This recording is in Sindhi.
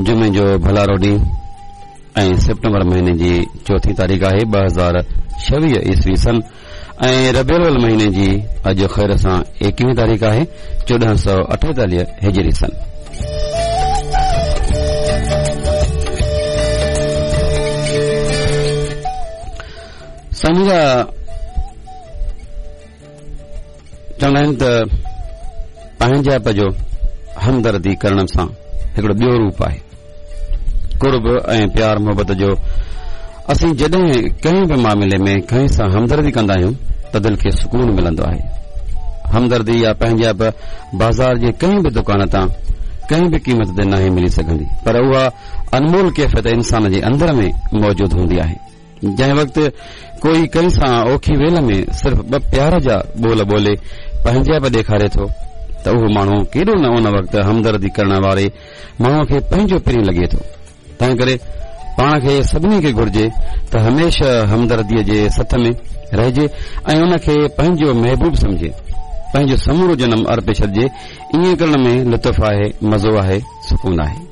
جمعي جو ڀلارو ڏينهن ۽ سيپٽمبر مهيني جي چوٿين تاريخ آهي 2026 عيسوي سن ۽ ربيع الاول مهيني جي اڄ خير سان ايڪويهين تاريخ آهي 1448 هجري سن. سائين جا چوندا آهن ته پنهنجائپ جو همدردي ڪرڻ سان هڪڙو ٻيو روپ آهي قرب ۽ پيار محبت جو. اسين جڏهن ڪنهن به معاملي ۾ ڪنهن سان همدردي ڪندا آهيون ته دل کي سڪون ملندو آهي. همدردي يا پنهنجائپ بازار جي ڪنهن به دڪان تان ڪنهن به قيمت تي ناهي ملي سگهندي پر اها انمول ڪيفيت انسان جي اندر ۾ موجود هوندي آهي. جنهن وقت ڪوئي ڪنهن سان اوکي ويل ۾ صرف ٻه پيار جا ٻول ٻولي پنهنجائپ ڏيکاري ٿو ته اهو ماڻهو ڪيڏو نه ان وقت همدردي ڪرڻ واري ماڻهوء کي پنهنجو پرين لڳي ٿو. تنهنڪري پاڻ کي سڀني کي گهرجي ته هميشه همدرديء جي سٿ ۾ رهجي ۽ ان کي پنهنجو محبوب سمجهي پنهنجو سمورو جنم ارپي ڇڏجي. ائين ڪرڻ ۾ لطف آهي، مزو آهي، سڪون آهي.